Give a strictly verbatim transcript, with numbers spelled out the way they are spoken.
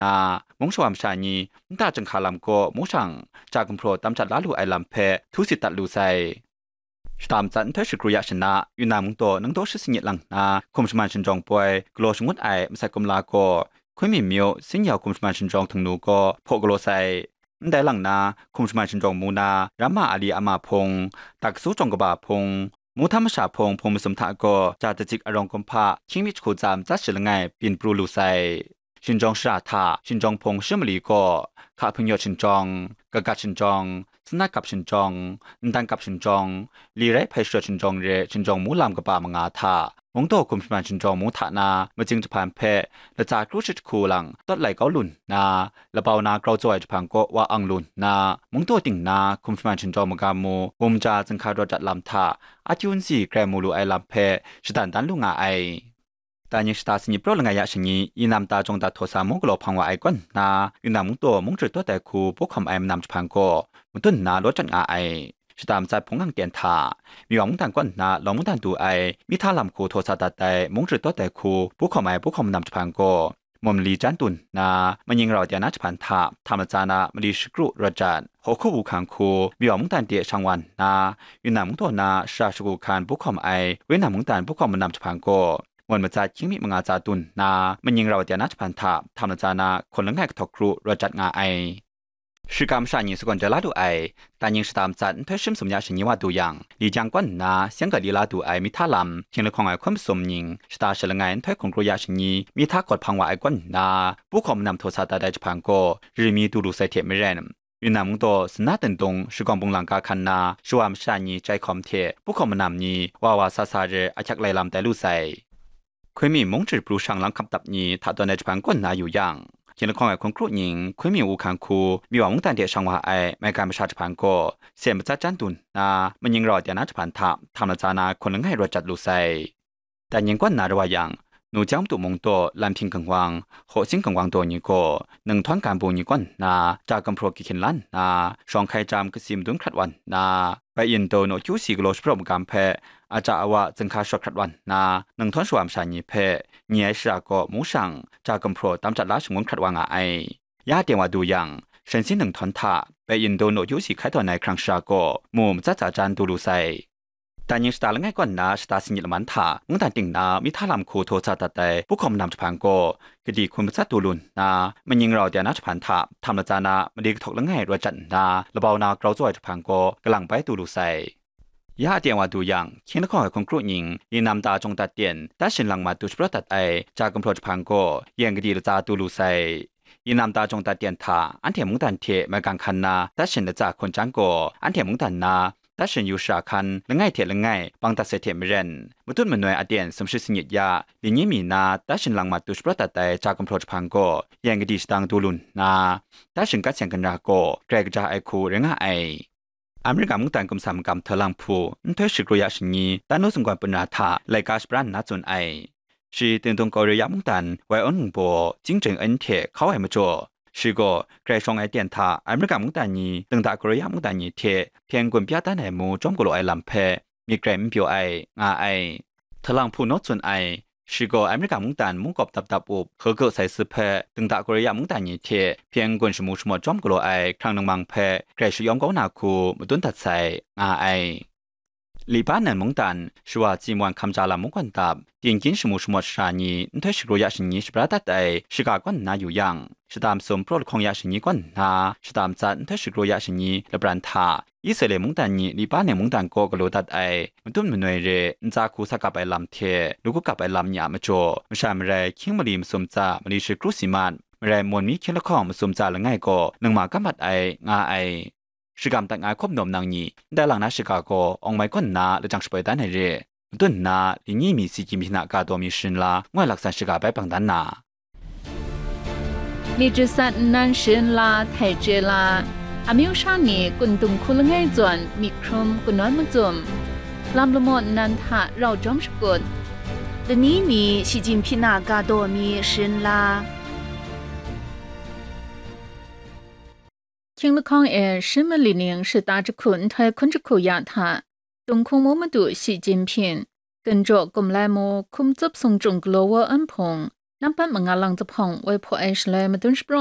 nna, mung shawa masha ni nta chyinghka lam kaw mung shang, ja gumhpraw tam jat la lu ai lam hpe htu sit dat lu sai. Shata matsat nhtoi shagru ya shana, Yunnan mungdaw nang daw shi singit lang nna, hkum shaman shinjawng poi galaw shangut ai masat kumla gaw, Hkunmi myu, Sinyau hkum shaman shinjawng htingnu gaw hpaw galaw sai. Ndai lang na, hkum shaman shinjawng mu na, Ramma Ali ama hpung, Daksu jawng kaba hpung, Muhtam masha hpung, hpung masum hta gaw, ja datsit arawng kumhpa, hkying mi jahku tsa matsat shi langai byin pru lu sai. Shinjawng shara hta, shinjawng hpung shi mali gaw, hka hpingyawt shinjawng, kagat shinjawng, sanat kap shinjawng, ndan kap shinjawng, li rai hpai shawt shinjawng re shinjawng mu lam kaba manga hta, mungdaw hkum shaman shinjawng mu hta na, majing jahpan hpe latsa kru shi jahku lang tawt lai kau lu nna, labau na grau tsaw ai jahpan kaw wa ang lu nna, mungdaw ting na hkum shaman shinjawng magam mu, bum ja zinghka rawt dat lam hta, a tyun si grai mu lu ai lam hpe shadan dan lu nga ai. Dai ning shata sanit praw langai ya shani, Yinam ta jawng dat htaw sa mung galaw hpang wa ai kaw nna, Yunnan mungdaw mung jahkawt ai hku pu hkawm ai manam jahpan gaw, madun nna law jat nga ai. Shata matsat hpung lang ten hta, Miwa mungdan kaw nna lawng mungdan du ai, Mihta lam hku htaw sa dat ai mung jahkawt ai hku pu hkawm ai pu hkawm manam jahpan gaw, mum mali jan dun nna, Manying rau de na jahpan hta, hta matsa na mali shakru rawt jat, Hkawhku Wu Hkan hku, Miwa mungdan de shang wa nna, Yunnan mungdaw na shara shagu hkan pu hkawm ai, Wenam mungdan pu hkawm manam jahpan gaw, Mawt matsat hkying mi manga tsa dun nna, Manying rau de na jahpan hta, hta matsa na hkawn langai kahtawk kru rawt jat nga ai. Shiga masha ni sagawn jai la lu ai, dai ning shata matsat nhtoi shi masum ya shani wa du yang, Lijiang kaw nna Siangga li la du ai Mihta lam, hkying lahkawng ai hkun masum ning, shata shi langai nhtoi hkun kru ya shani, Mihta kawt hpang wa ai kaw nna, pu hkawm manam htaw sa dat ai jahpan gaw, rimi du lu sai hte maren, Yunnan mungdaw Sina Tendung shagawng bunglang ga hkan na shawa masha ni chyai hkawm hte pu hkawm manam ni wa wa sa sa re ahkyak lai lam tai lu sai. Hkun mi mung jahpru shang lang hkap dap ni hta tawn ai jahpan kaw nna yu yang, hkying lahkawng ai hkun kru ning Hkun mi Wu Hkan hku Miwa mungdan de shang wa ai maigan masha jahpan gaw, sen matsat jan dun nna, Manying rau de na jahpan hta, hta matsa na hkawn langai rawt jat lu sai. Dai ning kaw nna rawt wa yang, Nu Jang Madu mungdaw Lam Hpyin Gangwang, Hkaw Sing Gangwang daw ni gaw, Ninghtawng Ganbu ni kaw nna, ja gumhpraw kahkyin la nna, shawng hkai jam kasi madun hkrat wa nna, Bai Yin Daw naw kyu si galaw shapraw magam hpe, aja awa zinghka shawt hkrat wa nna, Ninghtawng shawa masha ni hpe, ni ai shara kaw mung shang, ja gumhpraw tam jat la shangun hkrat wa nga ai. Ya teng wa du yang, Shansin Ninghtawng hta, Bai Yin Daw naw kyu si hkai tawn ai hkrang shara kaw, mu matsat tsa jan du lu sai. Dai ning shata langai kaw nna shata sanit laman hta mungdan ting na Mihta lam hku htaw sa dat ai pu hkawm manam jahpan gaw, gadi hkun matsat du lu nna, Manying rau de na jahpan hta, hta matsa na mali kahtawk langai rawt jat nna, labau na grau tsaw ai jahpan gaw, kalang bai du lu sai. Ya teng wa du yang, hkying lahkawng ai hkun kru ning, Yinam ta jawng dat ten, Tashin lang mat du shapraw dat ai, ja gumhpraw jahpan gaw, yen gadi latsa du lu sai. Yinam ta jawng dat ten hta, anhte mungdan hte maigan hkan na, Tashin latsa hkawn chyang gaw, anhte mungdan na, Tashin yu shara hkan langai hte langai bang dat sai hte maren, matut manoi aten sumshi sangit ya, li ni mi na Tashin lang mat du shapraw dat ai ja gumhpraw jahpan gaw, yen gadi shadang du lu nna, Tashin gat seng ginra gaw, grai kaja ai hku rai nga ai. Amerika mungdan gumsa magam htaw lang hpu, nhtoi shagru ya shani, tanu sunggawn punra hta laika shapran nna tsun ai. Shi Tengdung Korea mungdan Wai Awn Wungbaw, Jing Jeng En hte hkau ai majaw, shi gaw grai shawng ai ten hta Amerika mungdan ni, Tengda Korea mungdan ni hte hpyen gun pya dan ai mu chyawm galaw ai lam hpe myit grai n pyaw ai, nga ai. Htalang hpu naw tsun ai, shi gaw Amerika mungdan mungkawp dap dap up, hkegau sai si hpe, Tengda Korea mungdan ni hte hpyen gun shamu shamawt chyawm galaw ai hkrang ningmang hpe grai shayawm kau na hku madun dat sai, nga ai. Liba nan mungdan, shawa Tsimwan hkamja lam mungkan dap, tingkyin shamu shamawt shara ni nhtoi shagru ya shani shabra dat ai shiga kaw nna yu yang, shata masum praw lahkawng ya shani kaw nna, shata matsat nhtoi shagru ya shani lapran hta, Israela mungdan ni Liba nan mungdan kaw galaw dat ai, matut manoi re ntsa hku sa kap ai lam hte, lu kap ai lam ni a majaw, masha marai hkying mali masum tsa mali shagru si mat, marai mawn mi hkying lahkawng masum tsa langai gaw ningma kam mat ai, nga ai. Shagam dat nga ai hkawm nawm nang ni, ndai lang na shiga gaw awng mai kaw nna lajang shapoi dan ai re. Madun nna, li ni mi si gyim hpyi na ga daw mi sharin la, ngoi laksan shiga bai bang dan na. นี่ จัดสรร nnan sharin la, htai chye la, amyu sha ni kun dung hku langai zawn myit hkrum kanawn macum, lam lamaw nnan hta rau jawm shakut, ဒီနေ့နေ့ ရှီကျင့်ဖျင် ga daw mi sharin la. Hkying lahkawng e shi mali ning shata jahku nhtoi hkun jahku ya hta, Tung hkungmu madu Shi Jinping, Gun jaw Kumlai mu hkum tsup sung chyung galaw wa an hpung, Nampat manga lang jahpawng woi hpaw ai shaloi madun shapraw